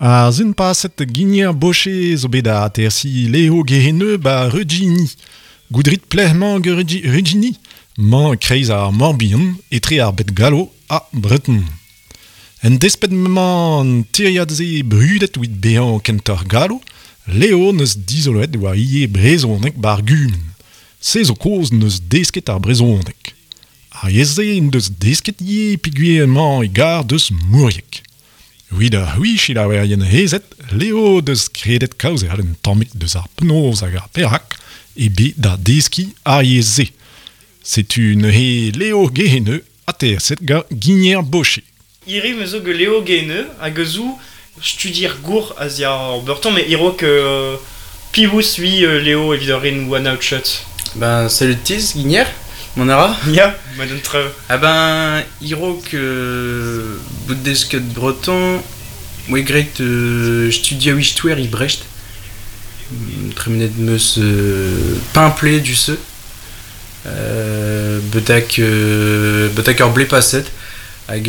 Ar zun paset Guigner Bochet zo bet a atersi Leo Geheneu ba Regini. Goudrit pleh-mañ Regini, mañ kreiz ar Morbihan etre ar bet gallo ha Breton. En despet mañ an tiriad-se brudet wit bezañ kentoc'h gallo, Leo neus dizoloet war ivez brezhoneg bar gumun. Se zo kozh neus desket ar brezhoneg. Ar yezh-se en deus desket ivez peogwir emañ e gar deus Mourieg. Evit ar c'hwi selaouerien hezet, Leo deus kredet kaozeal un tammig deus ar penaos hag ar perak eo bet da deskiñ ar yezh-se. Setu neuze Leo Geheneu aterset gant Guigner Bochet. Hiriv me zo get Leo Geheneu hag eus ou studier gour a ziar ur beurton met e-raok piv ui Leo evit ur ren one out shot. Ben, salut Tiz, Guigner, mon ara. Ya, ma d'un trev. Ah ben, e-raok bout desket breton, moe graet studiañ istoer e Brest. Tremenet 'm eus pemp du-se. Betek ur blez paset. Hag